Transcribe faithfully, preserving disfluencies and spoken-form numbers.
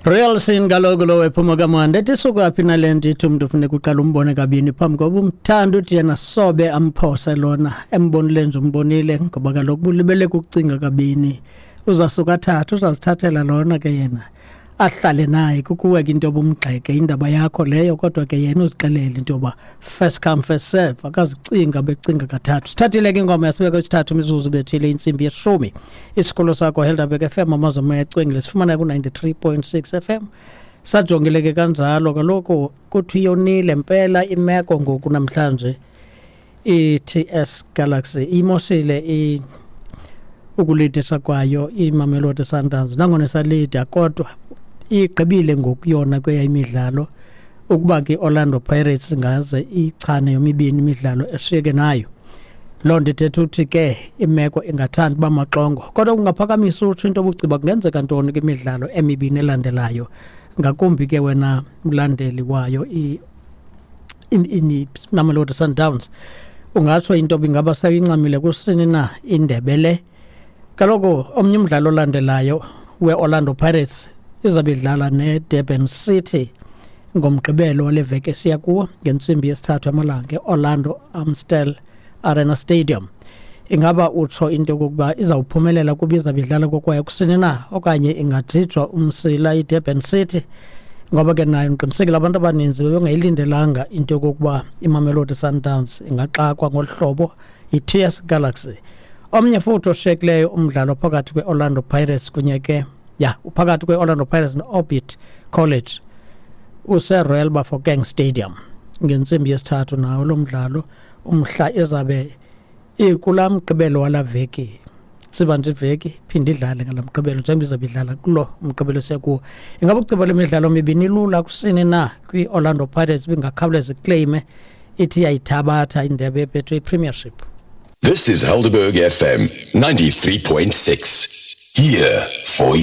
Real Sin kaloku lo ephuma kamandi ethi suka phi nale nto ithi umntu funeka uqala umbone kabini phambi koba umthanda, uthi yena sobe amphose lona embonile nje, umbonile ngoba kaloku bulibele kukucinga kabini. Uzasuka athathe, uzazithathela lona ke yena ahlale naye. Kukuwe ke into yoba umgxeke, indaba yakho leyo, kodwa ke yena uzixelele into yoba first come, first serve, akazicinga becinga kathathu. Sithathile ke ingoma yasibeka isithathu imizuzu bethile intsimbi yeshumi. Isikolo sakho Helderberg F M, amazwe acwengile, sifumana ku-ninety-three point six F M. Sajongile ke kanjalo kaloku kuthi yonile mpela imeko ngoku namhlanje. I-T S Galaxy imosile i ukulidisa kwayo iMamelodi Sundowns, nangona isalida kodwa igqibile ngoku yona kweya imidlalo. Ukuba ke Orlando Pirates ngaze ichane yomibini imidlalo eshiyeke nayo, loo nto ithetha ukuthi ke imeko ingathanda uba maxongo, kodwa kungaphakamisa utsho into obuciba kungenzeka ntoni kwimidlalo emibini elandelayo, ngakumbi ke wena mlandeli wayo iMamelodi Sundowns. Ungatsho into ingaba seyincamile kusini na indebe le? Kaloku omnye umdlalo olandelayo we-Orlando Pirates izabe idlala ne-Durban City ngoMgqibelo wale veki esiya kuwo ngentsimbi yesithathu amalanga e-Orlando Amstel Arena Stadium. Ingaba utsho into yokokuba izawuphumelela kuba izabe idlala kokwayo kusini na, okanye ingajijwa umsila iDurban City? Ngoba ke nayo ndiqinisekile abantu abaninzi bebengayilindelanga into yokokuba iMamelodi Sundowns ingaxakwa ngolu hlobo yi-T S Galaxy. Omnye futhi oshiyekileyo umdlalo phakathi kwe-Orlando Pirates kunye ke ya uphakathi kwe-Orlando Pirates ne-Orbit College use-Royal Bafokeng Stadium ngentsimbi yesithathu nawo lo mdlalo, umhla izabe ikulaa Mgqibelo wala veki. Siba nje iveki phinde idlale ngala Mgqibelo njengoba izabe idlala kulo Mgqibelo sekuwo. Ingaba uceba lemidlalo mibini ilula kusini na kwi-Orlando Pirates, bingakhawuleza iclaime ithi iyayithabatha indebe yeBetway Premiership? This is Helderberg F M ninety-three point six. Here for you.